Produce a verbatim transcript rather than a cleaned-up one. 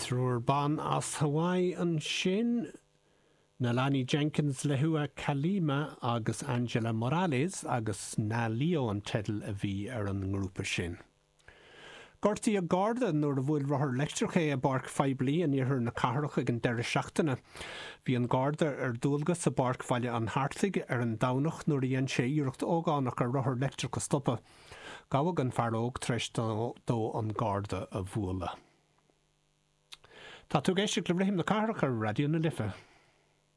Triúr ban as Hawaii ansin, Nalani Jenkins, Lehua Kalima agus Angela Morales agus Na Leo an teideal a bhí ar an ngrúpa sin. Gortaíodh Garda nuair a bhuail rothar leictreach é i bpáirc phoiblí in iarthar na cathrach ag an deireadh seachtaine. Bhí an Garda ar dualgas i bPáirc Bhaile an Hartaigh ar an Domhnach nuair a dhein sé iarracht ógánach ar rothar leictreach a stopadh. Gabhadh an fear óg tar éis dó an Garda a bhualadh. Tá tú ag éisteacht le Rithim na Cathrach ar Raidió na Life.